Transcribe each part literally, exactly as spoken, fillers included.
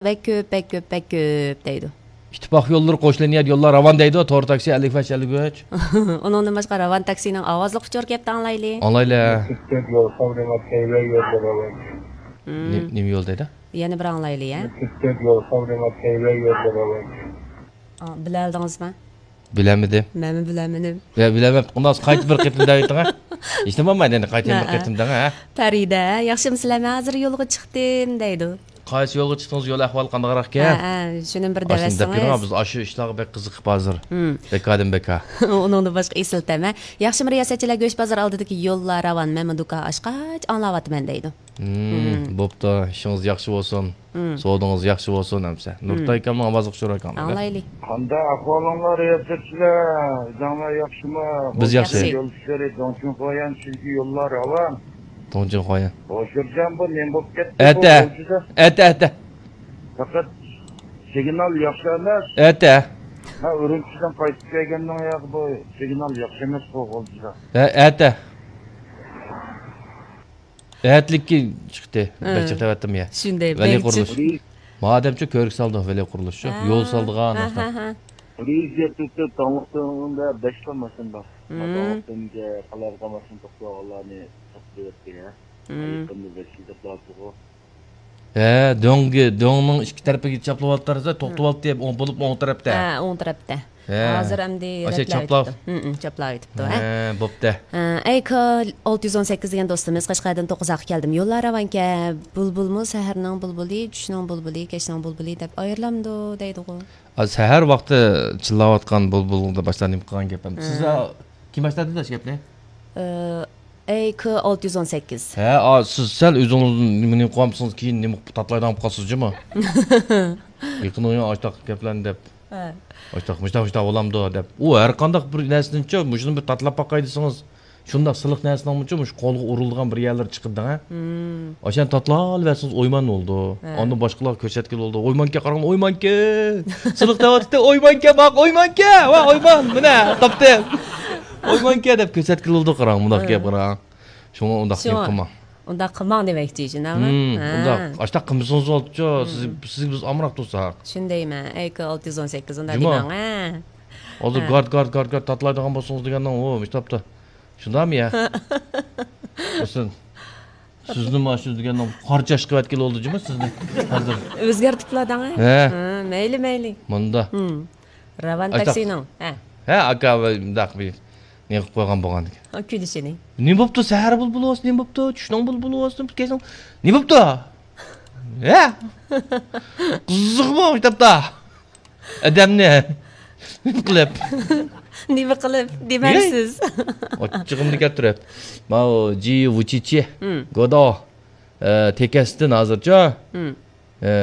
بەك كۆپ، بەك كۆپ، بەك كۆپ دەيدۇ. ئىتتىپاق يوللىرى قوش لىنىيە يوللار راۋان دەيدۇ، تور تاكسى ئەللىك بەش ئەللىك ئۈچ. ئۇنىڭدىن باشقا راۋان تاكسىنىڭ ئاۋازلىق ئۇچۇر كەپتۇ، ئاڭلايلى. ئاڭلايلى. يول ساغلىما تەيۋەن يوللار راۋان. نېمە يول دەيدۇ؟ يەنە بىر ئاڭلايلى، يا. يول ساغلىما تەيۋەن يوللار راۋان. ئا، بىلەلدىڭىزمۇ؟ بىلەلمىدىم. مەنمۇ بىلەلمىدىم. يا، بىلەلمەپتۇ. ئۇنداق قايتا بىر قېتىم دەۋېتىڭ، ھە؟ ھېچنېمە بولمايدۇ، ئەمدى قايتا بىر قېتىم دەڭ، ھە؟ پەرىدە، ياخشىمۇسىلەر؟ مەن ھازىر يولغا چىقتىم، دەيدۇ. قايسى يولغا چىقتىڭىز؟ يول ئەھۋالى قانداقراق ئىكەن؟ ھە، ھە، شۇنى بىر دەۋەتسىڭىز. بىز ئاشۇ ئىشلارغا بەك قىزىقىپ ھازىر. بەكادىن بەكا. ئۇنىڭدىن باشقا ئېسىل تەمە. ياخشىمۇ رىياسەتچىلەر؟ گۆش بازىرى ئالدىدىكى يوللار راۋان، مەنمۇ دۇكان ئاچقاچ ئاڭلاۋاتىمەن، دەيدۇ. بوپتۇ، ئىشىڭىز ياخشى بولسۇن. سودىڭىز ياخشى بولسۇن ئەمسە. نۇرتاي ئاكامنىڭ ئاۋازلىق شورا ئاكام. ئاڭلايلى. قانداق ئەھۋالىڭلار، رىياسەتچىلەر؟ ئۆزۈڭلار ياخشىمۇ؟ بىز ياخشى. يول ئىشلىرى، دۇڭچىڭخۇايەن، چۈنكى يوللار راۋان. دۇڭچىڭخۇايەن. ھوشۇرجان، بۇ نېمە بولۇپ كەتتى؟ ئەتە. ئەتە، ئەتە. پەقەت سىگنال ياخشى ئەمەس. ئەتە. مەن ئۈرۈمچىدىن قايتىپ كەلگەندىن ياقى بۇ سىگنال ياخشى ئەمەس بۇ غۇلجىدا. ھە، ئەتە. ئەتىلىككە چىقتى. بەك جىق تەۋەتتىم يا. شۇنداق، ۋەلى قۇرۇلۇش. مادەمچۇ كۆرۈك سالدى ۋەلى قۇرۇلۇش شۇ. يول سالدىغان. ھە، ھە، ھە. پولىسىيە تۈرتۈپ تاڭلىقتىڭدا بەش خىل ماشىنا بار. تاڭلىقتىنگە قالايمىقان ماشىنا توختىغانلارنى توختىتىۋەتتى يا. يېقىندا بەش يۈز دەپ لازىمغۇ. ھە، دۆڭگە، دۆڭنىڭ ئىككى تەرىپىگە چاپلىۋالدى، توختىۋالدى، ئوڭ بولۇپ ئوڭ تەرەپتە. ھە، ئوڭ تەرەپتە. ھە. ھازىر ئەمدى ئاشۇ رەتلەۋېتىپتۇ. چاپلاۋېتىپتۇ. ھە، بوپتۇ. ئەي كا ئالتە يۈز ئون سەككىز دېگەن دوستىمىز، قەشقەردىن توققۇزاققا كەلدىم. يوللار راۋانكەن، بۇلبۇلمۇ سەھەرنىڭ بۇلبۇلى، چۈشنىڭ بۇلبۇلى، كەچنىڭ بۇلبۇلى دەپ ئايرىلامدۇ دەيدىغۇ. سەھەر ۋاقتى چىللاۋاتقان بۇلبۇلدا باشلار نېمە قىلغان گەپ ئەمدى؟ سىز كىم باشلىدى داش گەپنى؟ ئەي كا ئالتە يۈز ئون سەككىز. ھە، سىز سەل ئۆزىڭىز نېمە، نېمە قىلىۋالمىسىڭىز، كېيىن نېمە تاتىلايدىغان بولۇپ قالىسىز جۇمۇ. يېقىن ئويۇن ئاشتاق گەپلەرنى دەپ. ھە. ئاشتاق، مۇشتاق، مۇشتاق بولامدۇ دەپ. ئۇ ھەر قانداق بىر نەرسىنىچۇ، مۇشۇنى بىر تاتىلاپ باقاي دېسىڭىز، شۇنداق سىلىق نەرسىنىڭمۇچۇ، مۇشۇ قولغا ئۇرۇلىدىغان بىر يەرلىرى چىقىدۇ دەڭە. ئاشۇنى تاتىلاۋەرسىڭىز ئويمان بولىدۇ. ھە. ئاندىن باشقىلارغا كۆرسەتكىلى بولىدۇ. ئويمانكەن، قاراڭ، ئويمانكەن. سىلىق تەۋاتىتتى، ئويمانكەن، باق، ئويمانكەن. ۋا، ئويمان، مىنە، تاپتىم. ئويمانكەن دەپ كۆرسەتكىلى بولىدۇ، قاراڭ، مۇنداق گەپ، قاراڭ. شۇڭا ئۇنداق گەپ قىلماڭ. ئۇنداق قىلماڭ دېمەكچى، شۇنداقمۇ؟ ھە. ئۇنداق، ئاشتاق قىلمىسىڭىز بولدىچۇ، سىز، سىزگە بىز ئامراق تۇرساق. شۇندايمەن، ئەي كا ئالتە يۈز ئون سەككىز، ئۇنداق دېمەڭ، ھە. ھازىر گارت، گارت، گارت، گارت تاتىلايدىغان بولسىڭىز دېگەننىڭ، ئۇ، مۇشۇ تاپتا. شۇنداقمۇ يا؟ ھوسەن، سىزنى مانا شۇ دېگەننىڭ قارچاش قىلىۋەتكىلى بولدى جۇمۇ سىزنى ھازىر. ئۆزگەرتىپلا دەڭە. ھە. ھە، مەيلى، مەيلى. مۇندا. راۋان تاكسىنىڭ. ھە. ھە، ئاكا، مۇنداق بىر نېمە قىلىپ قويغان بولغاندىكىن. ھە، كۈلۈشىنى. نېمە بوپتۇ؟ سەھەر بۇلبۇلى بولسا نېمە بوپتۇ؟ چۈشنىڭ بۇلبۇلى بولسا نېمە بوپتۇ؟ كەچنىڭ نېمە بوپتۇ؟ ھە؟ قىزىقمۇ مۇشۇ تاپتا؟ ئادەمنى نېمە قىلىپ؟ نېمە قىلىپ دېمەيسىز؟ ئاچچىقىمنى كەلتۈرۈپ. ماۋۇ جى ۋۇچىچى، گودو، ئە، تېكەستىن ھازىرچۇ؟ ئە،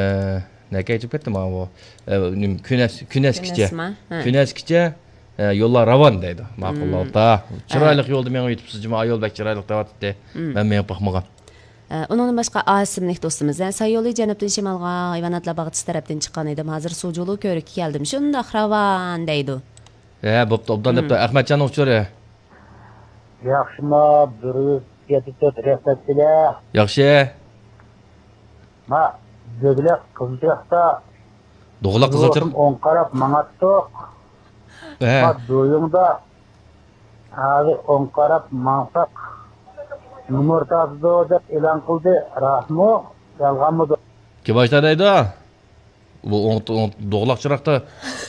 نەگە كېتىپ كەتتى ماۋۇ؟ ئە، نېمە، كۈنەس، كۈنەسكىچە. كۈنەسما؟ ھە. كۈنەسكىچە، ئە، يوللار راۋان دەيدۇ. ماقۇل، ئالتا. چىرايلىق يولدا مېڭىپ يېتىپسىز جۇمۇ، ئا يول بەك چىرايلىق دەۋاتاتتى. مەن مېڭىپ باقمىغان. ئە، ئۇنىڭدىن باشقا ئاسىملىك دوستىمىز، ئە، ساي يولى جەنۇبتىن شىمالغا، ھايۋاناتلار باغچىسى تەرەپتىن چىققان ئىدىم، ھازىر سۇجۇلۇ كۆۋرۈككە كەلدىم، شۇنداق راۋان دەيدۇ. ھە، بوپتۇ، ئوبدان دەپتۇ. ئەخمەتجاننىڭ ئۇچۇرى. ياخشىما، بىر يۈز يەتتە تۆت رەھمەت بىلەن. ياخشى. ما، دۆگلەك قىزىلچىراغدا دوغىلاق قىزىلچىراغ. ئوڭ قاراپ ماڭاتتۇق. ھە. ما، دويۇڭدا ھازىر ئوڭ قاراپ ماڭساق نومۇر تارتىدۇ دەپ ئېلان قىلدى. راستمۇ؟ يالغانمىدۇ؟ كىم ئاشتا دەيدۇ؟ بۇ ئوڭ، ئوڭ، دوغىلاق چىراغدا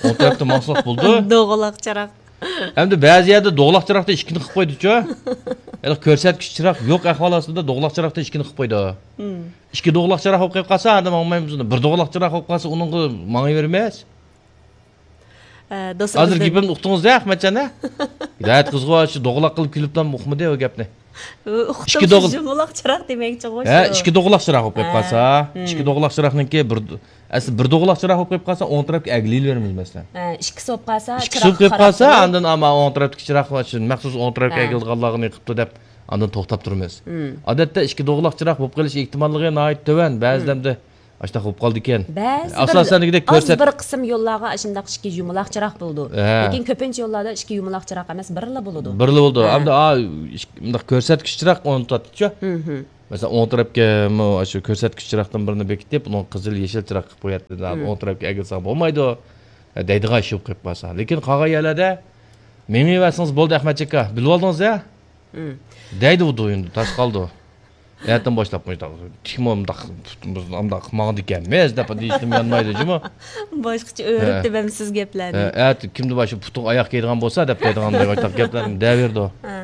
ئوڭ تەرەپتە ماڭساق بولىدۇ. دوغىلاق چىراغ. ئەمدى بەزى يەردە دوغىلاق چىراغدا ئىككىنى قىلىپ قويدىچۇ. ھېلىقى كۆرسەتكۈچ چىراغ يوق ئەھۋال ئاستىدا دوغىلاق چىراغدا ئىككىنى قىلىپ قويىدۇ. ئىككى دوغىلاق چىراغ بولۇپ قېلىپ قالسا، ئاندىن ماڭمايمىز. بىر دوغىلاق چىراغ بولۇپ قالسا، ئۇنىڭغا ماڭىۋېرىمىز. ھە، دوستلىرىمىزدىن. ھازىر گېپىمنى ئۇقتۇڭىز-دە، ئەخمەتجان، ھە؟ ھىدايەت قىزغۇ شۇ دوغىلاق قىلىپ كۈلۈپلا ئۇقمىدى ئۇ گەپنى. ئىككى دوغىلاق چىراغ دېمەكچىغۇ. ھە، شۇ. ئىككى دوغىلاق چىراغ بولۇپ قېلىپ قالسا، ئىككى دوغىلاق چىراغنىڭكى بىر، ئەسلى بىر دوغىلاق چىراغ بولۇپ قېلىپ قالسا، ئوڭ تەرەپكە ئەگلىۋېرىمىز، مەسىلەن. ھە، ئىككىسى بولۇپ قالسا، ئىككىسى بولۇپ قېلىپ قالسا، ئاندىن ئەمما ئوڭ تەرەپتىكى چىراغ شۇ مەخسۇس ئوڭ تەرەپكە ئەگىلىدىغانلارغا نېمە قىپتۇ دەپ، ئاندىن توختاپ تۇرىمىز. ئادەتتە ئىككى دوغىلاق چىراغ بولۇپ قېلىش ئېھتىماللىقى ناھايىتى تۆۋەن، بەزىدە ئەمدى ئاشۇنداق بولۇپ قالىدىكەن. بەزى ئاساسەن بىر، دېگۈدەك ئاز كۆرسەت- بىر قىسىم يوللارغا ئاشۇنداق ئىككى يۇمىلاق چىراغ بولىدۇ. ھە. لېكىن كۆپىنچە يوللاردا ئىككى يۇمىلاق چىراغ ئەمەس، بىرلا بولىدۇ. بىرلا بولىدۇ. ھە. ئەمدى، ئا، ئىك-، مۇنداق كۆرسەتكۈچ چىراغ ئورنىتىۋاتىدۇچۇ. مەسىلەن، ئوڭ تەرەپكە مۇ-، شۇ كۆرسەتكۈچ چىراغدىن بىرنى بېكىتىپ، ئۇنىڭ قىزىل، يېشىل چىراغ قىلىپ قوياتتى. مم. ئوڭ تەرەپكە ئەگىلسەڭ بولمايدۇ، دەيدىغان ئىش بولۇپ قېلىپ قالسا. لېكىن قالغان يەرلەردە مېڭىۋەرسىڭىز بولدى، ئەخمەتجان ئاكا. بىلىۋالدىڭىز يا؟ مم. دەيدۇ ئۇ دويۇندا، تاش قالدى. ئەتىن باشلاپ مۇشۇنداق، تىكمۇ مۇنداق، مۇنداق ماڭىدىكەنمىز دەپ دېيىشتىن يانمايدۇ جۇمۇ. باشقىچە ئۆرۈپ ھە. دېمەمسىز گەپلەرنى. ھە، ئەتە كىمدە بار شۇ پۇتۇڭ ئاياق كىيىدىغان بولسا دەپ دەيدىغان باشلاپ گەپلەرنى دەۋېرىدۇ. ھە.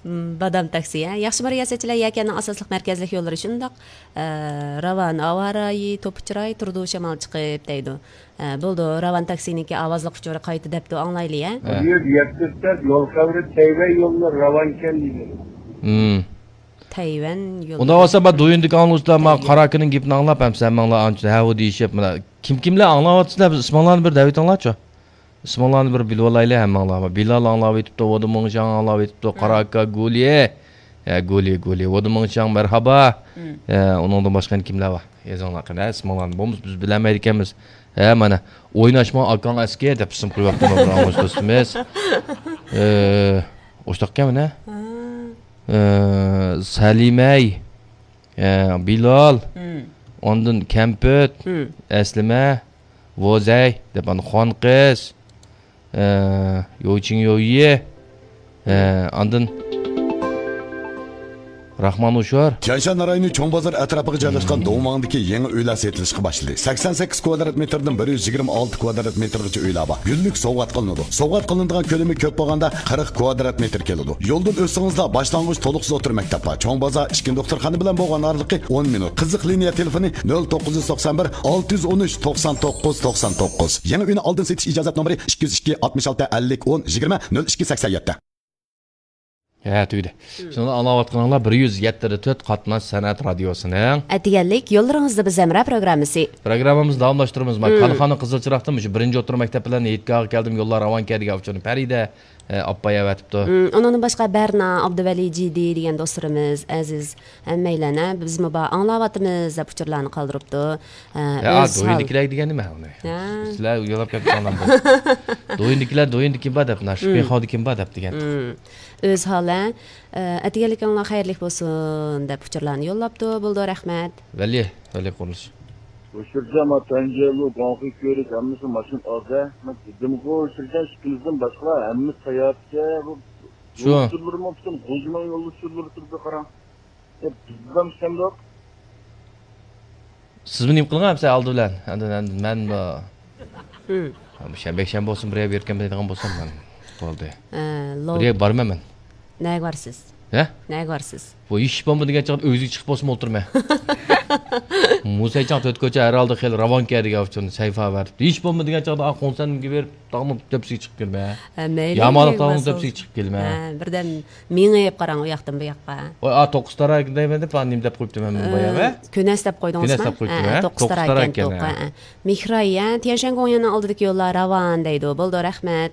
مم، بادام تاكسى، ھە. ياخشىمۇ رىياسەتچىلەر، يەكەننىڭ ئاساسلىق مەركەزلىك يوللىرى شۇنداق، ئە، راۋان، ھاۋا رايى، توپا چىراي، تۇرىدۇ شامال چىقىپ دەيدۇ. ئە، بولدى، راۋان تاكسىنىڭكى ئاۋازلىق ئۇچۇرى قايتا دەپتۇ، ئاڭلايلى، ھە. ھە. بۇ يەردە يەتتە سەت يول خەۋىرى تەيۋەن يوللىرى راۋانكەن دېدى. مم. تەيۋەن يوللىرى. ئۇنداق بولسا، ما دويۇندىكى ئاڭلىغۇچىلار، ما تەيۋەن. قاراكىنىڭ گېپىنى ئاڭلاپ، ھەم سەن ماڭلا ئانچە ھەۋۇ دېيىشىپ، مانا كىم كىملەر ئاڭلاۋاتىسىلەر، بىز ئىسمىڭلارنى بىر دەۋېتىڭلارچۇ. ئىسمىڭلارنى بىر بىلىۋالايلى ھەممىڭلار. بىلال ئاڭلاۋېتىپتۇ، ۋودىمىڭشاڭ ئاڭلاۋېتىپتۇ، ھە. قاراكا گولى، ھە، گولى، گولى، ۋودىمىڭشاڭ، مەرھابا. ھە، ئۇنىڭدىن باشقا يەنە كىملەر بار؟ يېزىڭلار قېنى، ھە، ئىسمىڭلارنى. بولمىسا بىز بىلەلمەيدىكەنمىز. ھە، مانا، ئويناشما ئاكاڭ ئەسكى دەپ ئىسىم قويۇۋاپتۇ بىر ئاڭلىغۇچى دوستىمىز. ئە، ئوشتاقكەن مانا. ھە. ئە، سەلىمەي، ئە، بىلال، ھم. ئاندىن كەمپۈت، ھم. ئەسلىمە، ۋوزەي دەپ ئاندىن خۇان قىز، ئە، يوچىڭ يويى، ئە، ئاندىن راخمان ئۇشۇر. تيەنشان رايونى چوڭ بازار ئەتراپىغا جايلاشقان دوڭۋاڭدىكى يېڭى ئۆيلەر سېتىلىشقا باشلىدى. سەكسەن سەككىز كۋادرات مېتىردىن بىر يۈز يىگىرمە ئالتە كۋادرات مېتىرغىچە ئۆيلەر بار. گۈللۈك سوۋغات قىلىنىدۇ. سوۋغات قىلىنىدىغان كۆلىمى كۆپ بولغاندا قىرىق كۋادرات مېتىر كېلىدۇ. يولدىن ئۆتسىڭىزلا باشلانغۇچ تولۇقسىز ئوتتۇرا مەكتەپ بار. چوڭ بازار ئىچكى دوختۇرخانا بىلەن بولغان ئارىلىقى ئون مىنۇت. قىزىق لىنىيە تېلېفونى نۆل توققۇز يۈز توقسان بىر، ئالتە يۈز ئون ئۈچ، توقسان توققۇز، توقسان توققۇز. يېڭى ئۆينى ئالدىن سېتىش ئىجازەت نومۇرى ئىككى يۈز ئىككى، ئاتمىش ئالتە، ئەللىك، ئون، يىگىرمە، نۆل ئىككى، سەكسەن يەتتە. ھە، تۈگىدى. شۇنى ئاڭلاۋاتقىنىڭلار بىر يۈز يەتتە تۆت قاتناش سەنئەت رادىيوسىنىڭ ئەتىگەنلىك يوللىرىڭىزدا بىز ھەمراھ پروگراممىسى. پروگراممىمىزنى داۋاملاشتۇرىمىز. مانا، كالىخانا قىزىل چىراغدىن مۇشۇ بىرىنچى ئوتتۇرا مەكتەپ بىلەن ھېيتگاھقا كەلدىم، يوللار راۋانكەن دېگەن ئۇچۇرنى پەرىدە، ئە، ئاپا ئەۋەتىپتۇ. ئۇنىڭدىن باشقا بەرنا، ئابدۇۋەلى، جىدى دېگەن دوستلىرىمىز، ئەزىز، ھەممەيلەن، ھە، بىزمۇ بار، ئاڭلاۋاتىمىز دەپ ئۇچۇرلارنى قالدۇرۇپتۇ. ھە، ھە، ئۆز ھال- دويىندىكىلەر دېگەن نېمە ئۇنى؟ ھە. سىلەر ئۇيالاپ كەتتىڭلارمۇ؟ دويىندىكىلەر، دويىندە كىم بار دەپ، ناشپىخاۋدا كىم بار دەپ دېگەن. ئۆز ھال، ھە. ئە، ئەتىگەنلىكىڭلار خەيرلىك بولسۇن دەپ ئۇچۇرلارنى يوللاپتۇ. بولدى، رەھمەت. ۋەلى، ۋەلى قۇرۇلۇش. ئۆچۈرگەن ما تەنجەلۇ، گۇاڭخې كۆۋرۈك ھەممىسى ماشىنا ئالدى. مەن دېدىمغۇ، ئۆچۈرگەن ئىككىمىزدىن باشقىلار ھەممىسى ساياھەتكە. بۇ شۇ. يول ئۇچۇرلىرىمۇ پۈتۈن غۇلجىنىڭ يول ئۇچۇرلىرى تۇرىدۇ، قاراڭ. يا، بىزدىن ئىشەندۇق. سىزمۇ نېمە قىلغان ئەمسە ئالدى بىلەن؟ ئەمدى، ئەمدى مەن، ئە، مم. بۇ شەنبە، يەكشەنبە بولسۇن، بىر يەرگە بېرىپ كەلمەيدىغان بولسام مەن بولدى. ئە، لو- بىر يەرگە بارىمەن مەن. نەگە بارىسىز؟ ھە؟ نەگە بارىسىز؟ بۇ ھېچ بولمىدى دېگەن چاغدا ئۆگزىگە چىقىپ بولسىمۇ ئولتۇرىمەن. مۇسەيچاڭ تۆت كوچا ھەر ھالدا خېلى راۋانكەن دېگەن ئۇچۇن سەيفا بەرىپتۇ. ھېچ بولمىدى دېگەن چاغدا، ئا، خۇڭسەنگە بېرىپ، تاغنىڭ تۆپىسىگە چىقىپ كىرمە. ھە، مەيلى، يامانلىق تاغنىڭ تۆپىسىگە چىقىپ كەلمە. ھە، بىردەم مېڭىپ قاراڭ ئۇ ياقتىن بۇ ياققا. ۋاي، ئا، توققۇز تاراكەن دەيمەن دەپ، ئا، نېمە دەپ قويۇپتىمەن مەن بايا، ھە؟ كۆنەس دەپ قويدىڭىزمۇ؟ كۆنەس دەپ قويۇپتىمەن، ھە، ھە، توققۇز تاراكەن، توققۇز تاراكەن، توققۇز، ھە. ھە. مېھراي، ھە، تيەنشەن گوڭيەننىڭ ئالدىدىكى يوللار راۋان دەيدۇ. بولدى، رەھمەت.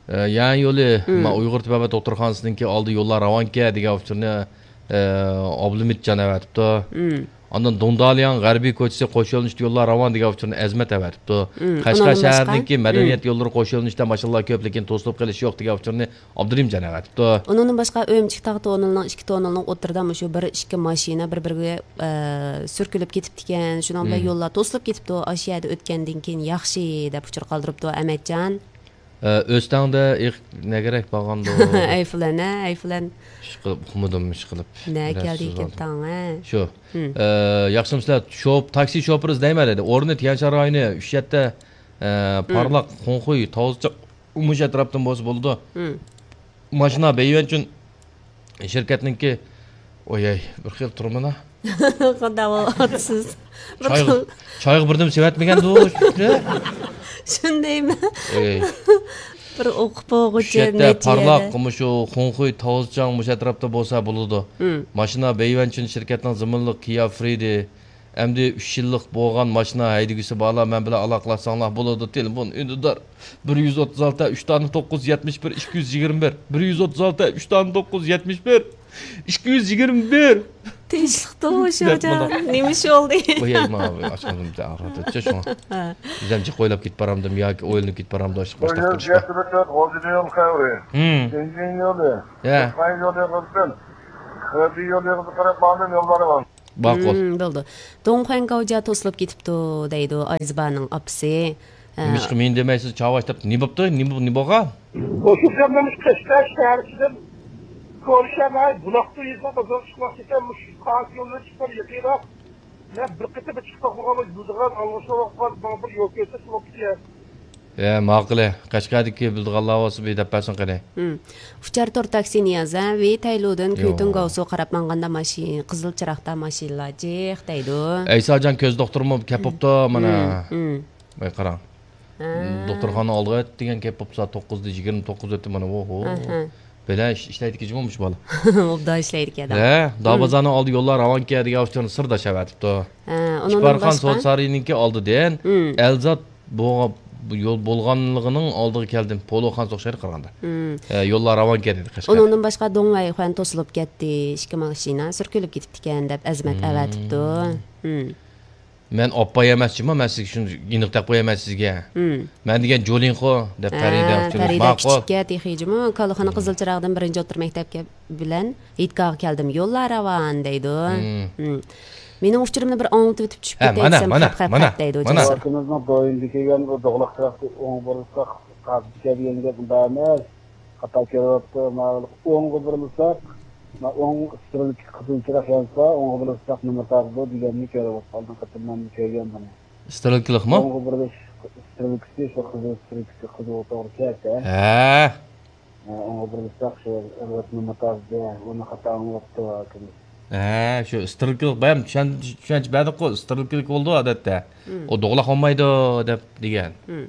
ئە، يەنى يولى، مم. ما ئۇيغۇر تېبابەت دوختۇرخانىسىنىڭكى ئالدى يوللار راۋانكەن دېگەن ئۇچۇرنى، ئە، ئابلىمىتجان ئەۋەتىپتۇ. مم. ئاندىن دۇڭدالياڭ غەربىي كوچىسى قوش يۆنىلىشتە يوللار راۋان دېگەن ئۇچۇرنى ئەزمەت ئەۋەتىپتۇ. مم، قەشقەر ئۇنىڭدىن باشقا؟ شەھىرىنىڭكى مەدەنىيەت مم. يوللىرى قوش يۆنىلىشتە ماشىنىلار كۆپ، لېكىن توسۇلۇپ قېلىش يوق دېگەن ئۇچۇرنى ئابدۇرېھىمجان ئەۋەتىپتۇ. ئۇنىڭدىن باشقا ئۆمىچىك تاغ توننىلىنىڭ ئىككى توننىلىنىڭ ئوتتۇرىدا مۇشۇ بىر ئىككى ماشىنا بىر-بىرىگە، ئە، سۈركىلىپ كېتىپتىكەن. شۇنىڭ بىلەن مم. يوللار توسۇلۇپ كېتىپتۇ. ئاشۇ يەردە ئۆتكەندىن كېيىن ياخشى دەپ ئۇچۇر قالدۇرۇپتۇ ئەمەتجان. ئە، ئۆستەڭدە ئېق-، نەگىرەك بارغاندۇ. ئەيفلەن، ھە، ئەيفلەن. ئىشقىلىپ، ئۇقمىدىم، ئىشقىلىپ. نە كەلدى ئىكەن تاڭ، ھە؟ شۇ. ھىم. ئە، ياخشىمۇسىلەر؟ شوپ-، تاكسى شوپۇرى ئىزدەيمەن دېدى. ئورنى تيەنشان رايونى، ئۈچ يەتتە، ئە، ھىم. پارلاق، خۇڭخۇي، تاۋزىچاڭ، مۇشۇ ئەتراپتىن بولسا بولىدۇ. ھىم. ماشىنا بەيۋەنچۈن شىركەتنىڭكى، ئوياي، بىر خىل تۇرمىنا. قانداق بولۇۋاتىسىز؟ بىر چايغا، خىل. چايغا بىردىن سېۋەتمىگەندۇ، شۇنى. شۇندايمۇ؟ ئەي. بىر ئوقۇپ بولغۇچە چۈشەتتە نەچچە پارلاق، يەردە. مۇشۇ خۇڭخۇي، تاۋزىچاڭ مۇشۇ ئەتراپتا بولسا بولىدۇ. ھىم. ماشىنا بەيۋەنچۈن شىركەتنىڭ زېمىنلىق كىيا فرىدى. ئەمدى ئۈچ يىللىق بولغان ماشىنا ھەيدىگۈسى بارلار مەن بىلەن ئالاقىلاشساڭلار بولىدۇ. تېلېفون ئۈندىدار. بىر يۈز ئوتتۇز ئالتە، ئۈچ تانە توققۇز يۈز يەتمىش بىر، ئىككى يۈز يىگىرمە بىر. بىر يۈز ئوتتۇز ئالتە، ئۈچ تانە توققۇز يۈز يەتمىش بىر، ئىككى يۈز يىگىرمە بىر. تىنچلىق توغۇشۇجان. دەپ مۇنداق. نېمە ئىش بولدى؟ قوياي، مانا ئاچقاندىن ئاغرىپ ئۆتتى شۇڭا. ھە. بىزەم جىق ئويلاپ كېتىپ بارامدىم ياكى ئويلىنىپ كېتىپ بارامدۇ، ئاشۇ باشلاپ تۇرۇشقا. يول خەۋىرى. ھىم. بېنزىن يولى. يا. تۇرپان يولى قىلسۇن. خېبېي يولىغا قاراپ ماڭدىم، يوللارغا. ماقۇل. ھىم، بولدى. دۇڭخۇەن گاۋجيا توسۇلۇپ كېتىپتۇ، دەيدۇ ئايزىبانىڭ ئاپىسى. ھە. نېمىشقا مېنى دېمەيسىز، چاۋاش دەپ، نېمە بوپتۇ؟ نېمە، نېمە بولغان؟ ئوشۇ زاماندا قەشقەر شەھەر ئىچىدىن كونا شەھەر، بۇلاقتۇ يېزىغا بازار چىقماقچى ئىكەن، مۇشۇ قاغا يولىدىن چىققان يېقىنراق. مەن بىر قېتىم چىقىپ باقمىغان، بۇ يۈزىدىغان ئاڭلىشىۋاتقان ماڭا بىر يول كۆرسەتسە بوپتىكەن. ھە، ماقۇل. قەشقەردىكى بىلىدىغانلار بولسا بىر دەپ بەرسۇن قېنى. ھىم. ئۇچار تور تاكسى نىياز، ھە، ۋېي تەيلۇدىن يوق. كۈيتۇڭ گاۋسۇ قاراپ ماڭغاندا ماشىنا، قىزىل چىراغدا ماشىنىلار جىق دەيدۇ. ئەيساجان كۆز دوختۇرمۇ كەپ بوپتۇ مانا. ھىم، ھىم. ۋاي قاراڭ. ھە. دوختۇرخانا ئالدىغا دېگەن كەپ بوپسا، توققۇزدا يىگىرمە توققۇز ئۆتتى مانا، ۋوھو. ئەھە. بەلە ئىش-، ئىشلەيدىكى جۇمۇ مۇشۇ بالا. ئوبدان ئىشلەيدىكەن. ھە، دابازارنىڭ ئالدى يوللار راۋانكەن دېگەن ئۇچۇرنى سىرداش ئەۋەتىپتۇ. ھە، ئۇنىڭدىن ئىپارخان باشقا؟ سودا سارىيىنىڭكى ئالدىدىن ھىم. ئەلزات بولغا-، بۇ يول بولغانلىقىنىڭ ئالدىغا كەلدىم. پولۇخانىسى ئوخشايدۇ قارىغاندا. ھىم. ھە، يوللار راۋانكەن دېدى قەشقەر. ئۇنىڭدىن باشقا دۇڭۋەيخۇەن توسۇلۇپ كەتتى. ئىككى ماشىنا سۈركىلىپ كېتىپتىكەن دەپ ئەزىمەت ھىم. ئەۋەتىپتۇ. ھىم. مەن ئاپپاي ئەمەس جۇمۇ، مەن سىزگە شۇنى ئېنىق دەپ قويىمەن سىزگە. ھىم. مەن دېگەن جولىنخو دەپ ھە، پەرىدە ئۇچۇرىمىز. پەرىدە ماقۇل. كىچىككە تېخى جۇمۇ، كالىخانا ھىم. قىزىل چىراغدىن بىرىنچى ئوتتۇرا مەكتەپكە بىلەن ھېيتگاھقا كەلدىم. يوللار راۋان دەيدۇ. ھىم. ھىم. مېنىڭ ئۇچۇرۇمنى بىر ئاڭلىتىۋېتىپ چۈشۈپ ھە، كېتەي مانا، دېسەم، مانا، خەپ، خەپ، مانا، خەپ دەيدۇ مانا. جاسۇر. ۋاكىمىزنىڭ دويىنىدىكى يەنە بۇ دوغلاق چىراغ ئوڭ بۇرۇلساق قازىكەن دېگەن گەپ ئۇنداق ئەمەس. خاتا كۆرۈۋاپتۇ. ماۋۇ ئوڭغا بۇرۇلساق، ما ئوڭ ئىسترېلكا قىزىل چىراغ يانسا، ئوڭغا بۇرۇلساق نېمە تارتىدۇ دېگەننى كۆرۈۋاتقان. قېتىم مەن كۆرگەن بۇنى. ئىسترېلكىلىقمۇ؟ ئوڭغا بۇرۇلۇش ئىسترېلكىسى شۇ قىزىل ئىسترېلكىسى قىزىل توغرا كەتتى. ھە. ھە، ئوڭغا بۇرۇلساق شۇ ئەلۋەتنى مۇتازدى، ئۇنى خاتا ئاڭلاپتۇ ھاكىم. ھە، شۇ ئىسترېلكىلىق بايام چۈشەن-، چۈشەنچە بەردۇققۇ، ئىسترېلكىلىك بولىدۇ ئادەتتە. ھىم. ئۇ دوغلاق بولمايدۇ دەپ دېگەن. ھىم.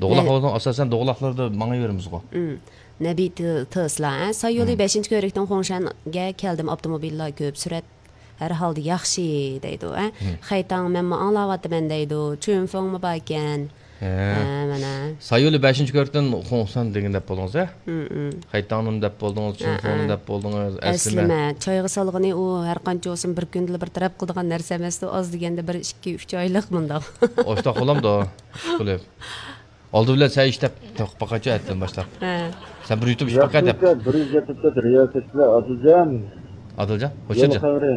دوغلاق نە- بولسا ئاساسەن دوغلاقلاردا ماڭىۋېرىمىزغۇ. ھىم. نەبى ت-، تېسلا، ھە؟ سايولى ھىم. بەشىنچى كۆۋرۈكتىن خۇڭشەنگە كەلدىم، ئاپتوموبىللار كۆپ، سۈرئەت ھەر ھالدا ياخشى دەيدۇ، ھە؟ ھىم. خەيتاڭ مەنمۇ ئاڭلاۋاتىمەن دەيدۇ، چۈنفېڭمۇ باركەن. ھە. ھە، مانا. سايولى بەشىنچى كۆۋرۈكتىن خۇڭشەن دېگەن دەپ بولدىڭىز، ھە؟ ھىم، ھىم. خەيتاڭنىمۇ دەپ بولدىڭىز، ھە، چۈنفېڭنى ھە. دەپ بولدىڭىز، ئەسلىمە. ئەسلىمە. چايغا سالغىنى ئۇ ھەرقانچە بولسۇن بىر كۈندىلا بىر تەرەپ قىلىدىغان نەرسە ئەمەستۇ، ئاز دېگەندە بىر ئىككى، ئۈچ ئايلىق مۇنداق. ئاشتاق بولامدۇ؟ ئىشقىلىپ. ئالدى بىلەن سەن ئىشلەپ تېپىپ باقايچۇ، ئەتىدىن باشلاپ. ھە. سەن بىر يۇتۇم ئىچىپ باقاي دەپ. ياخشى، بىر يۈز يەتمىش تۆت رىياسەتچىلەر ئادىلجان. ئادىلجان، يول خوشجان. خەۋىرى.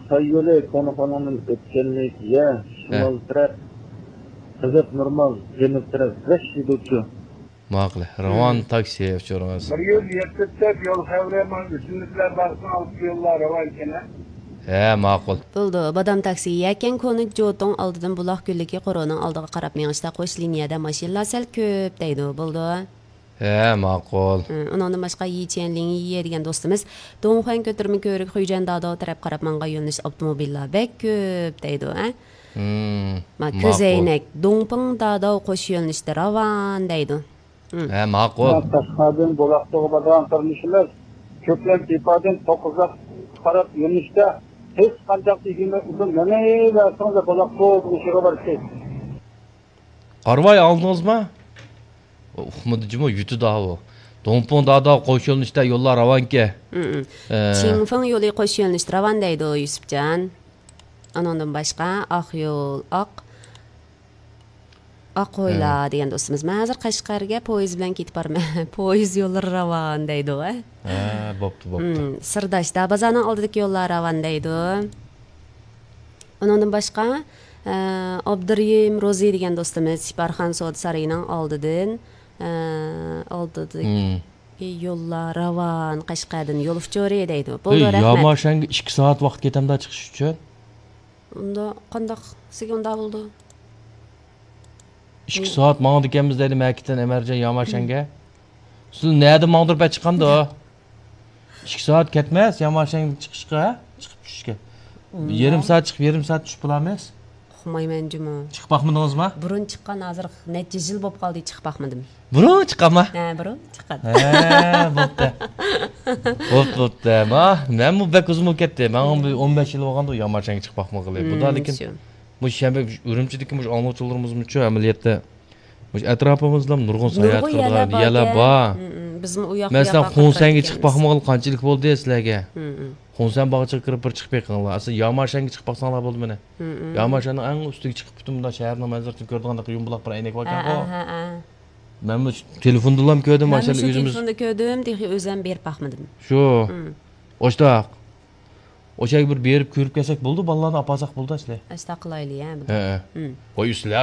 ساي يولى كونىخانىدىن ئۆتكەنلىك يە ھە. شىمال تەرەپ، غەزەپ نورمال، جەنۇب تەرەپ، بەش يېدۇچۇ. ماقۇل. راۋان ھىم. تاكسى ئۇچۇرىڭىز. بىر يۈز يەتمىش تۆت يول خەۋىرى، مانا ئۆسۈملۈكلەر بارسا ئالدى يوللار راۋان ئىكەن. ھە، ماقۇل. بولدى، بادام تاكسى. يەكەن كونا جوتۇڭ ئالدىدىن بۇلاق گۈللۈكى قورۇنىڭ ئالدىغا قاراپ مېڭىشتا قوش لىنىيەدە ماشىنىلار سەل كۆپ دەيدۇ. بولدى. ھە، ماقۇل. ھە، ئۇنىڭدىن باشقا يىچيەن لىڭيىيې دېگەن دوستىمىز، دۇڭخۇەن كۆتۈرمە كۆۋرۈك خۇيجەن داداۋ تەرەپ قاراپ ماڭغان يۆنىلىشتە ئاپتوموبىللار بەك كۆپ دەيدۇ، ھە؟ ھىم، ما، ماقۇل. كۆزەينەك، دۇڭپىڭ داداۋ قوش يۆنىلىشتە راۋان دەيدۇ. ھىم. ھە، ماقۇل. تاشقاردىن بۇلاقتۇغا بارىدىغان قېرىندىشىمىز، كۆكلەن تېپادىن توققۇزاق قاراپ يۆنىلىشتە ھېچقانداق ئىگىمە ئۇزۇن مېڭىۋەرسىڭىز بۇلاقتۇ دېگۈچىگە بارسىز. قارىۋاي، ئاڭلىدىڭىزمۇ؟ ئۇقمىدى جۇمۇ، يۈتىدۇ ئاۋۇ. دۇڭپىڭ داداۋ قوش يۆنىلىشتە يوللار راۋانكەن. ھىم، ھىم. ئە. چىڭفېڭ يولى قوش يۆنىلىشتە راۋان دەيدۇ، يۈسۈپجان. ئۇنىڭدىن باشقا، ئاق يول، ئاق، ئاق ھويلا ھە. دېگەن دوستىمىز. مەن ھازىر قەشقەرگە پويىز بىلەن كېتىپ بارىمەن. پويىز يوللىرى راۋان دەيدۇ، ھە؟ ھە، بوپتۇ، بوپتۇ. ھىم، سىرداش، دابازارنىڭ ئالدىدىكى يوللار راۋان دەيدۇ. ئۇنىڭدىن باشقا، ئە، ئابدۇرېھىم روزى دېگەن دوستىمىز سىپارخان سودا سارىيىنىڭ ئالدىدىن، ئە، ئالدىدىكى ھىم. يوللار راۋان، قەشقەردىن يول ئۇچۇرى دەيدۇ. بولدى، ھەي، رەھمەت. ياماشەنگە ئىككى سائەت ۋاقىت كېتەمدۇ چىقىش ئۈچۈن؟ ئۇنداق قانداق سىزگە ئۇنداق بولىدۇ؟ ئىككى سائەت ماڭىدىكەنمىز دەيدۇ، مەكىتتىن ئەمەرجان ياماشەنگە. سىز نەدە ماڭدۇرۇپ چىقامدۇ؟ ئىككى سائەت كەتمەس ياماشەنگە چىقىشقا، چىقىپ چۈشۈشكە. ئۇنداق. يېرىم سائەت چىقىپ، يېرىم سائەت چۈشۈپ بولامىز. ئۇقمايمەن جۇمۇ. چىقىپ باقمىدىڭىزمۇ؟ بۇرۇن چىققان، ھازىر نەچچە يىل بولۇپ قالدى چىقىپ باقمىدىم. بۇرۇن چىققانما؟ ھە، بۇرۇن چىققان. ھە، بوپتۇ. بوپتۇ، بوپتۇ. ما، مەنمۇ بەك ئۇزۇن بولۇپ كەتتى. ماڭا بىر ئون بەش يىل بولغاندۇ ياماشەنگە چىقىپ باقمىغىلى. بۇدا لېكىن شۇ. مۇشۇ شەنبە ئۈرۈمچىدىكى مۇشۇ ئاڭلىغۇچىلىرىمىزمۇچۇ ئەمەلىيەتتە مۇشۇ ئەتراپىمىزدا نۇرغۇن ساياھەت قىلىدىغان يەرلەر بار. بىزمۇ ئۇ ياق، بۇ ياققا قاتنايدىكەنمىز. مەسىلەن، خۇڭسەنگە چىقىپ باقمىغىلى قانچىلىك بولدى سىلەرگە؟ خۇڭسەن باغچىغا كىرىپ بىر چىقىپ بېقىڭلار. ئەسلى ياماشەنگە چىقىپ باقساڭلار بولدى مانا. ياماشەننىڭ ئەڭ ئۈستىگە چىقىپ پۈتۈن مۇنداق شەھەرنىڭ مەنزىرىسىنى كۆرىدىغاندەك يۇمىلاق بىر ئەينەك باركەنغۇ. مەنمۇ تېلېفوندىنلا كۆردۈم، ماشىنا ئۆزىمىز. تېلېفوندا كۆردۈم، تېخى ئۆزۈم بېرىپ باقمىدىم. شۇ. ئاشتاق. ئوشۇ يەرگە بىر بېرىپ كۆرۈپ كەلسەك بولدى، بالىلارنى ئاپارساق بولدى ئەسلى. ئەستا قىلايلى، ھە، بۇنى. ھە، ھە. ھىم. ۋاي، ئۈستىلى ئاش